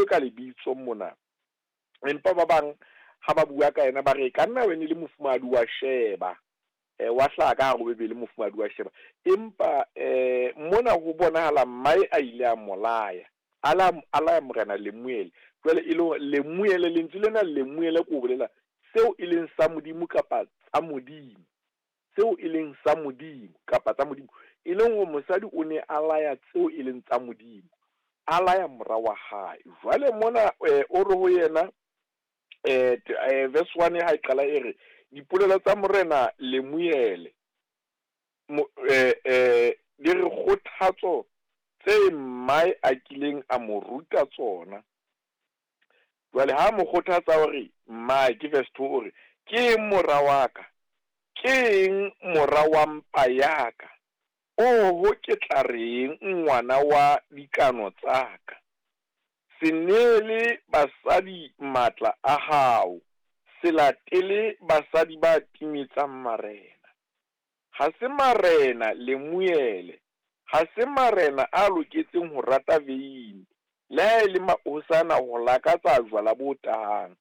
ka lebitso mona. Empa ba bang ha ba bua ka yena ba re e ka nna e ne le mofumahadi wa Sheba. Wa hlaha ka hare ho Bibele mofumahadi wa Sheba. Empa mona ho bonahala mmae a ile a molaya. A laya morena Lemuele. Jwale e le hore Lemuele, lentswe lena Lemuele ke ho bolela seo e leng sa Modimo kapa tsa Modimo. Seo e leng sa Modimo kapa tsa Modimo. E leng hore mosadi o ne a laya tseo e leng tsa Modimo. A laya mora wa hae. Jwale mona o re ho yena verse 1 ha e qala e re dipolelo tsa morena Lemuele di re kgothatso tse mmae a kileng a mo ruta tsona. Jwale ha mo kgothatsa hore mmae ke verse 2 o re ke eng mora wa ka, ke eng mora wa mpa ya ka, oho ke tla reng ngwana wa dikano tsa ka. Se neele basadi matla a hao, se latele basadi ba timetsang marena. Ha se marena Lemuele, ha se marena a loketseng ho rata veine, le ha e le mahosana ho lakatsa jwala bo tahang.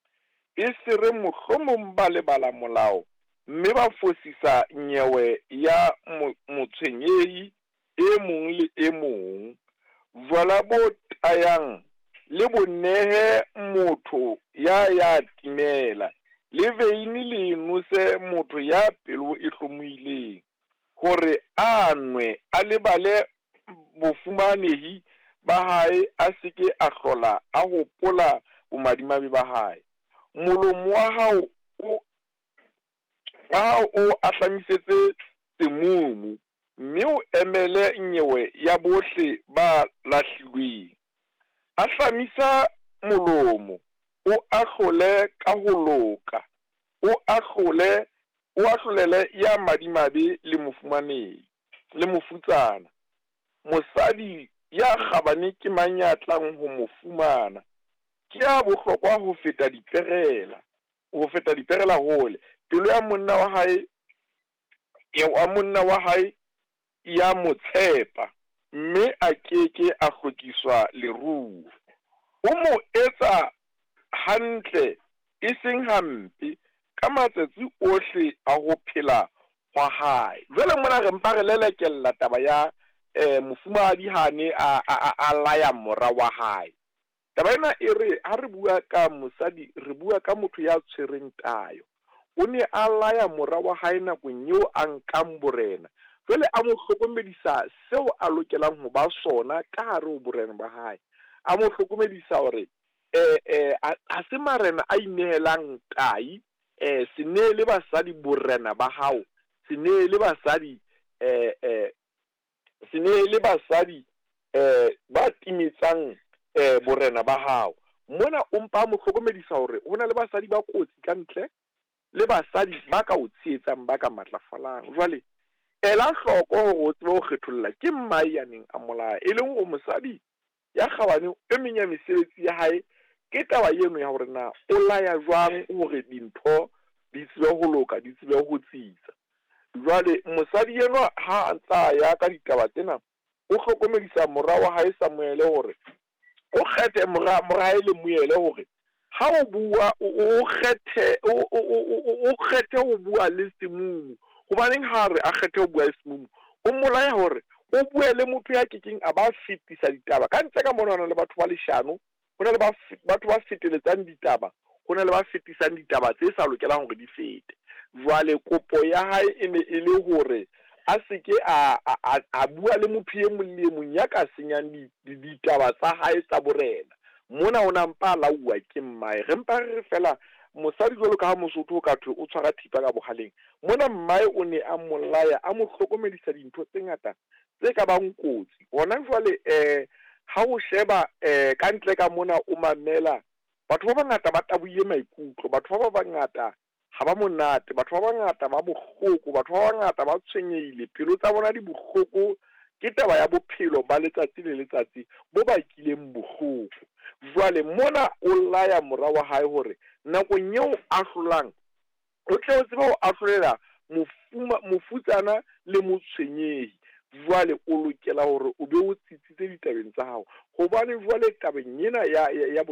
E se re mohlomong ba lebala molao mme ba fosisa nyewe ya motshwenyehi e mong le e mong. Jwala bo tayang le bo nehe motho ya ya timela, le veine le nose motho ya pelo e hlomohileng, hore a nwe a lebale bofumanehi ba hae, a se ke a hlola a hopola bomadimabe ba hae. Molomo wa hao o ahlamisetse semumu, mme o emele nyewe ya bohle ba lahlilweng. Ahlamisa molomo, o ahlole ka ho loka, o ahlole, o ahlolele ya madimabe le mofumanehi le mofutsana. Mosadi ya kgabane ke mang ya tlang ho mo fumana? Ke ya bohlokwa ho feta diperela, ho feta diperela hole. Pelo ya monna wa hae, ya monna wa hae ya mo tshepa, mme a keke a hlokiswa leruo. O mo etsa hantle e seng hampe ka matsatsi ohle a ho phela hwa hae. Jwale mona re mpa re lelekella taba ya mofumahadi ha ne a laya mora wa hae. Taba ena e re ha re bua ka mosadi, re bua ka motho ya tshwereng tayo. O ne a laya mora wa hae nakong eo a nkang borena. Jwale a mo hlokomedisa seo a lokelang ho ba sona ka hare ho borena ba hae. A mo hlokomedisa hore ha se marena a inehelang tai, se neele basadi borena ba hao, se neele basadi se neele basadi ba timetsang borena ba hao. Mona o mpa a mo hlokomedisa hore ho na le basadi ba kotsi ka ntle le basadi ba ka o tshehetsang, ba ka matlafalang. Jwale ela hloko hore o tsebe ho kgetholla ke mmae ya neng a molaya, e leng hore mosadi ya kgabane e meng ya mesebetsi ya hae ke taba eno ya hore na o laya jwang hore dintho di tsebe ho loka, di tsebe ho tsitsa. Jwale mosadi enwa ha a ntsa ya ka ditaba tsena, o hlokomedisa mora wa hae Samuele hore o kgethe mora hae Lemuele hore ha o bua o kgethe o kgethe ho bua le semumu. Hobaneng ha re a kgethe ho bua le semumu? O molaya hore o bue le motho ya kekeng a ba fetisa ditaba. Ka ntle ka mona ho na le batho ba leshano, ho na le batho ba feteletsang ditaba, ho na le ba fetisang ditaba tse sa lokelang hore di fete. Jwale kopo ya hae e ne e le hore a se ke a bua le motho e mong le e mong ya ka senyang ditaba tsa hae tsa borena. Mona o na mpa a lauwa ke mmae. Re mpa re fela mosadi jwalo ka ha Mosotho o ka thwe o tshwara thipa ka bohaleng. Mona mmae o ne a molaya, a mo hlokomedisa dintho tse ngata tse ka bang kotsi. Hona jwale ha o sheba ka ntle ka mona o mamela, batho ba bangata ba tabohile maikutlo, batho ba bangata ha ba monate, batho ba bangata ba bohloko, batho ba bangata ba tshwenyehile, pelo tsa bona di bohloko ke taba ya bophelo ba letsatsi le letsatsi bo bakileng bohloko. Jwale mona o laya mora wa hae hore nakong eo a hlolang, o tle o tsebe ho ahlolela mofutsana le motshwenyehi. Jwale o lokela hore o be o tsitsitse ditabeng tsa hao, hobane jwale tabeng ena ya